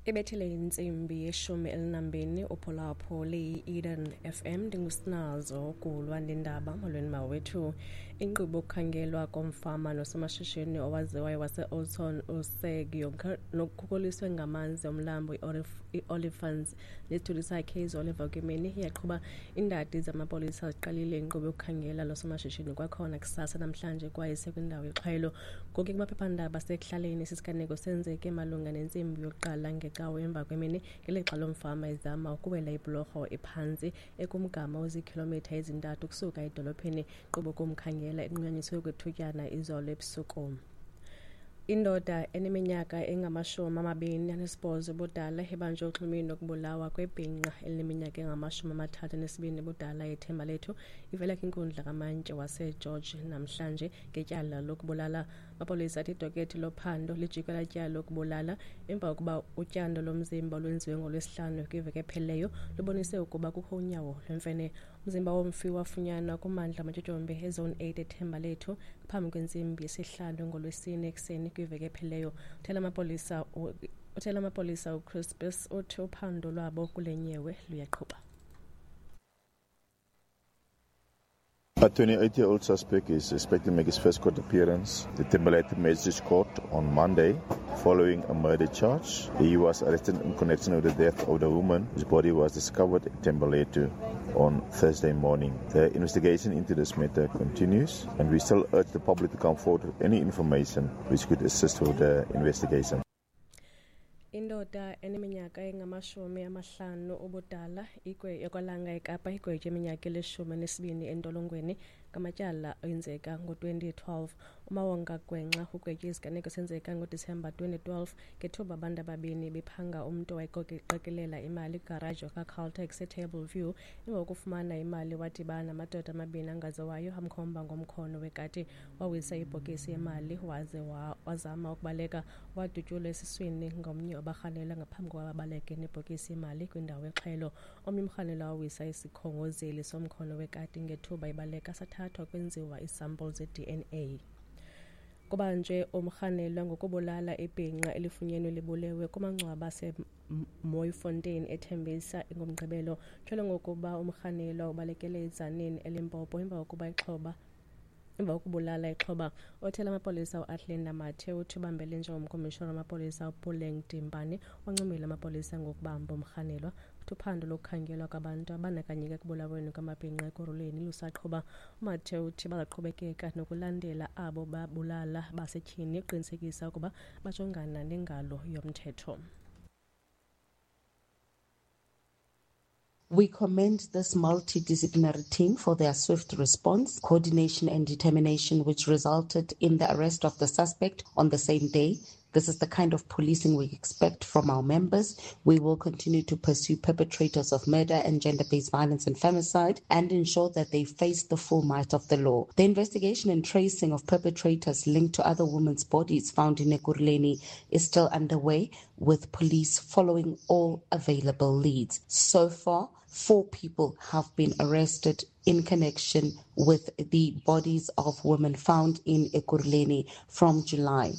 Ibethile intsimbi yeshumi elinambini uphulaphuli liyi-Eden FM. Ndingusinazo kulwa ndindaba. Molweni mawethu. Inkqubo yokukhangelwa komfama nosomashishini owaziwayo wase-Oudtshoorn uSeg Jonker nokukhukuliswe ngamanzi omlambo i-Olifants nesithulu sakhe izolo emva kwemini iyaqhuba. Iindadi zamapolisa ziqalile inkqubo yokukhangela lo somashishini kwakhona kusasa namhlanje kwaye sekwindawo yexhwayelo. Ngoku kumaphephandaba asekuhlaleni, esi siganeko senzeke malunga nentsimbi yokuqala ngecawe emva kwemini ngelixa lo mfama ezama ukuwela ibhulorho ephantsi ekumgama oziikhilomitha ezintathu ukusuka edolophini. Inkqubo kumkhangela inqunyanyiswe kwethutyana izolo ebusuku. Indoda eneminyaka engama-28 ubudala ibanjwe uxhumini lokubulawa kwebhinqa elineminyaka engama-32 ubudala eThembalethu ivela kwinkundla kamantyi waseGeorge namhlanje ngetyala lokubulala. Amapolisa athi idokethi lophando lijikwe latyala lokubulala emva kokuba utyando lomzimba olwenziwe ngoLwesihlanu kwiveki ephelileyo lubonise ukuba kukho unyawo lwemfene. Umzimba womfi wafunyanwa kumandla amatyotyombe eZone 8 eThembalethu phambi kwentsimbi yesihlanu ngoLwesine ekuseni kwiveki ephelileyo. Uthela amapolisa uChris uthi uphando lwabo kule nyewe luyaqhuba. A 28-year-old suspect is expected to make his first court appearance at the Thembalethu Magistrates Court on Monday following a murder charge. He was arrested in connection with the death of the woman whose body was discovered at Thembalethu on Thursday morning. The investigation into this matter continues, and we still urge the public to come forward with any information which could assist with the investigation. Indoda eneminyaka engama-50 ubudala yakwaLanga eKapa igwetywe iminyaka eli-12 entolongweni ngamatyala enzeka ngo-2012. UMawonga Gwenxa ugwetywe isiganeko senzeka ngoDisemba 2012 ngethuba abantu ababini bephanga umntu owayeqokelela imali kwigaraji yakwaCaltex eTable View. Emva kokufumana imali wadibana namadoda amabini angaziwayo amkhomba ngomkhono wekati, wawisa ibhokisi yemali waze wazama ukubaleka. Wadutyulwa esiswini ngomnye wabarhanelwa ngaphambi kokuba babaleke nebhokisi yemali kwindawo yexhelo. Omnye umrhanelwa wawisa isikhongozeli somkhono wekati ngethuba ebaleka, sathathwa kwenziwa iisampulu ze-DNA. Kubanjwe umrhanelwa ngokubulala ibhinqa elifunyenwe libulewe kumangcwaba aseMooifontein eThembisa ngoMgqibelo. Tyholwa ngokuba umrhanelwa ubalekele eTzaneen eLimpopo emva kokubulala ixhoba. Othela amapolisa uAthlene Mathe uthi ubambele njengomkomishona wamapolisa uPuleng Dimpane wancomile amapolisa ngokubamba umrhanelwa. Uthi uphando lokukhangelwa kwabantu abandakanyeka ekubulaweni kwamabhinqa Ekurhuleni lusaqhuba. UMathe uthi bazaqhubekeka nokulandela abo babulala basetyhini ukuqinisekisa ukuba bajongana nengalo yomthetho. We commend this multidisciplinary team for their swift response, coordination and determination, which resulted in the arrest of the suspect on the same day. This is the kind of policing we expect from our members. We will continue to pursue perpetrators of murder and gender-based violence and femicide and ensure that they face the full might of the law. The investigation and tracing of perpetrators linked to other women's bodies found in Ekurhuleni is still underway, with police following all available leads. So far, 4 people have been arrested in connection with the bodies of women found in Ekurhuleni from July.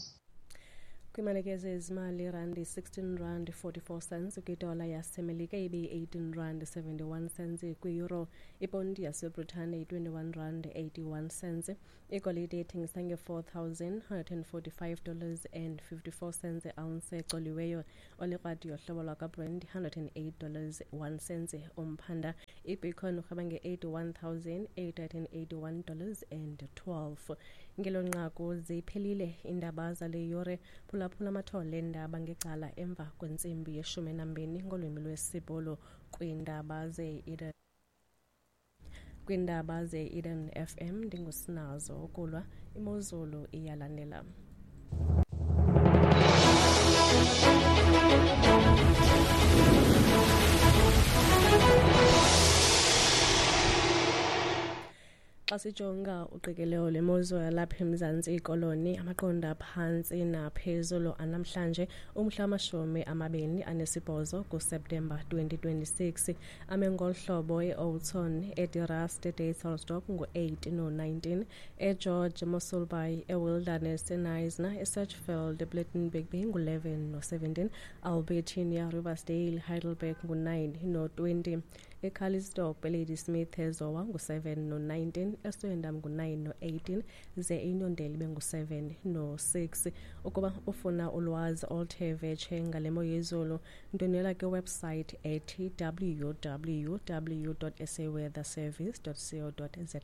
Kwimalike zezimali, irandi 16 rand 44 cents kwidola yaseMelika, ibe-18 rand 71 cents kwi-euro, iponti yaseBritane yi-21 rand 81 cents. Igolide ithengisa nge-$4,145 and 54 cents ounce ecoliweyo. Olikrwadi yohlobo lwakwaBrent $108 1 cent umphanda. Ibitcoin urhweba nge-$81,881 and 12. Ngelo nqaku ziphelile iindaba zale yure. Phulaphula amathole eendaba ngecala emva kwentsimbi yeshumi nambini ngolwimi lwesiBhulu kwindaba ze-Eden FM. Ndingusinazo ukulwa. Imozulu iyalandela. Xa Xa sijonga uqikelelo lwemozulu yalapha eMzantsi Koloni, amaqondo aphantsi naphezulu anamhlanje umhla wama-28 kuSeptemba 2026 ame ngolu hlobo: eOudtshoorn, eDe Rust, eDysselsdorp ngu-8 no-19, eGeorge, Mossel Bay, eWilderness, eKnysna, eSedgefield, ePlettenberg Bay ngu-11 no-17, Albertinia, Riversdale, Heidelberg ngu-9 no-20, eCalitzdorp, eLadysmith, eZowa ngu-7 no-19, eSwellendam ngu-9 no-18, ze iNyondela ibe ngu-7 no-6. Ukuba ufuna ulwazi oluthe vetshe ngale mo yezulu, ndwendwela kwiwebsite ethi www.saweatherservice.co.za.